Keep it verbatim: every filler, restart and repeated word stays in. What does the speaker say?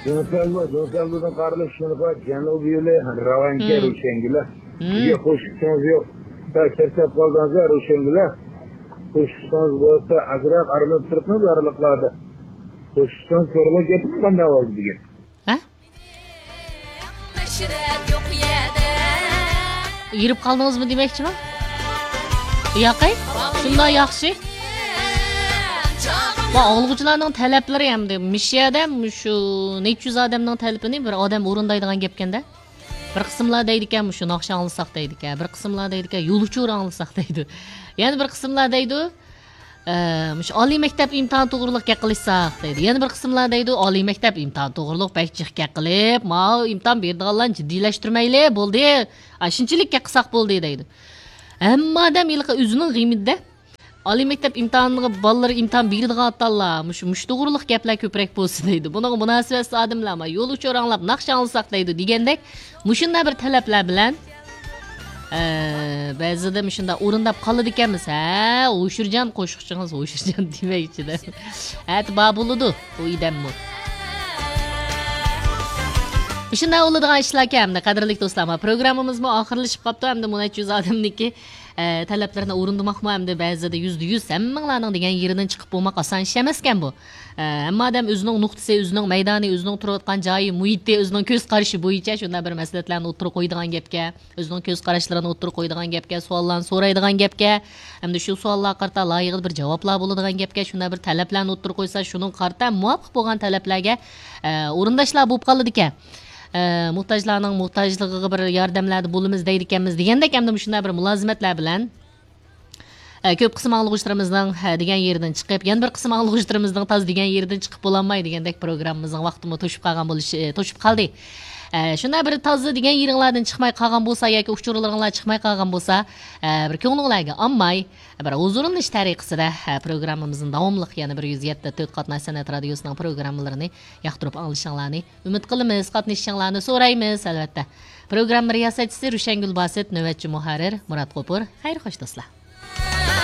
جۇڭفەنلۇ، جۇڭفەنلۇدىن قارلىق شىنخۇا جەنۇبىي يولى راۋانكە، ھىم. روشەنگۈلە. ھىم. بىزگە قوشۇپ چىقىڭىز يوق. بىر چەتلەپ قالدىڭىز يا روشەنگۈلە. قوشۇپ چىقىڭىز بولسا ئازراق ئارىلىنىپ تۇرۇپمۇ يارلىقلاردا. قوشۇپ چىقىڭىز كۆرۈلۈپ كەتتىم قانداق بولدى بۈگۈن. ھە؟ يېرىپ قالدىڭىزمۇ دېمەكچىما؟ ياقەي، شۇنداق ياخشى. ۋە ئاڭلىغۇچىلارنىڭ تەلەپلىرى ئەمدى مۇشۇ يەردە مۇشۇ نەچچە يۈز ئادەمنىڭ تەلىپىنى بىر ئادەم ئورۇندايدىغان گەپكەندە. بىر قىسىملار دەيدىكەن، مۇشۇ ناخشا ئاڭلىساق دەيدىكەن، بىر قىسىملار دەيدىكەن، يول ئۇچۇرى ئاڭلىساق دەيدۇ. يەنە بىر قىسىملار دەيدۇ، ئە، مۇشۇ ئالىي مەكتەپ ئىمتىھانى توغرۇلۇق گەپ قىلىشساق دەيدۇ. يەنە بىر قىسىملار دەيدۇ، ئالىي مەكتەپ ئىمتىھانى توغرۇلۇق بەك جىق گەپ قىلىپ، ماۋۇ ئىمتىھان بېرىدىغانلارنى جىددىيلەشتۈرمەيلى، بولدى. ئا، شۇنچىلىك گەپ قىلساق بولدى دەيدۇ. ھەممە ئادەم ھېلىقى ئۆزىنىڭ غېمىدە. ئالىي مەكتەپ ئىمتىھانىغا بالىلىرى ئىمتىھان بېرىدىغان ئاتاللار، مۇشۇ، مۇشۇ توغرۇلۇق گەپلەر كۆپرەك بولسا دەيدۇ. بۇنىڭغا مۇناسىۋەتسىز ئادەملەر، ما، يول ئۇچۇر ئاڭلاپ، ناخشا ئاڭلىساق دەيدۇ دېگەندەك، مۇشۇنداق بىر تەلەپلەر بىلەن، ئە، بەزىدە مۇشۇنداق ئورۇنداپ قالىدىكەنمىز. ھە، ھوشۇرجان قوشۇقچىڭىز، ھوشۇرجان دېمەكچىدە. ئەتە بار بولىدۇ، ئۇ ئىدەممۇ. مۇشۇنداق بولىدىغان ئىشلاركەن، ئەمدى قەدىرلىك دوستلار، ما، پروگراممىمىزمۇ ئاخىرلىشىپ قاپتۇ، ئەمدى مۇنەچچە يۈز ئادەمنىڭكى ئە، تەلەپلىرىنى ئورۇندىماقمۇ ئەمدى بەزىدە يۈزدە يۈز ھەممىڭلارنىڭ دېگەن يېرىدىن چىقىپ بولماق ئاسان ئىش ئەمەسكەن بۇ. ئە، ھەممە ئادەم ئۆزىنىڭ نۇقتىسى، ئۆزىنىڭ مەيدانى، ئۆزىنىڭ تۇرۇۋاتقان جايى، مۇھىتى، ئۆزىنىڭ كۆز قارىشى بويىچە شۇنداق بىر مەسلىھەتلەرنى ئوتتۇرىغا قويىدىغان گەپكە، ئۆزىنىڭ كۆز قاراشلىرىنى ئوتتۇرىغا قويىدىغان گەپكە، سوئاللارنى سورايدىغان گەپكە، ھەمدە شۇ سوئاللارغا قارىتا لايىقىدا بىر جاۋابلار بولىدىغان گەپكە، شۇنداق بىر تەلەپلەرنى ئوتتۇرىغا قويسا، شۇنىڭغا قارىتا مۇۋاپىق بولغان تەلەپلەرگە، ئە، ئورۇنداشلار بولۇپ قالىدىكەن. ئە، موھتاجلارنىڭ موھتاجلىقىغا بىر ياردەملەردە بولىمىز دەيدىكەنمىز دېگەندەك، ئەمدى مۇشۇنداق بىر مۇلازىمەتلەر بىلەن، ئە، كۆپ قىسىم ئاڭلىغۇچىلىرىمىزنىڭ، ھە، دېگەن يېرىدىن چىقىپ، يەنە بىر قىسىم ئاڭلىغۇچىلىرىمىزنىڭ تاز دېگەن يېرىدىن چىقىپ بولالماي دېگەندەك پروگراممىمىزنىڭ ۋاقتىمۇ توشۇپ قالغان بولۇشى، توشۇپ قالدى. ئە، شۇنداق بىر تازا دېگەن يېرىڭلاردىن چىقماي قالغان بولسا ياكى ئۇچۇرلىرىڭلار چىقماي قالغان بولسا، ئە، بىر كۆڭلۈڭلارگە ئالماي، بىر ھۇزۇرلىنىش تەرىقىسىدە، ھە، پروگراممىمىزنى داۋاملىق يەنە بىر يۈز يەتتە تۆت قاتناش سەنئەت رادىيوسىنىڭ پروگراممىلىرىنى ياقتۇرۇپ ئاڭلىشىڭلارنى ئۈمىد قىلىمىز، قاتنىشىشىڭلارنى سورايمىز، ئەلۋەتتە. پروگرامما رىياسەتچىسى رۇشەنگۈل باسىت، نۆۋەتچى مۇھەررىر مۇرات غوپۇر. خەير خوش، دوستلار.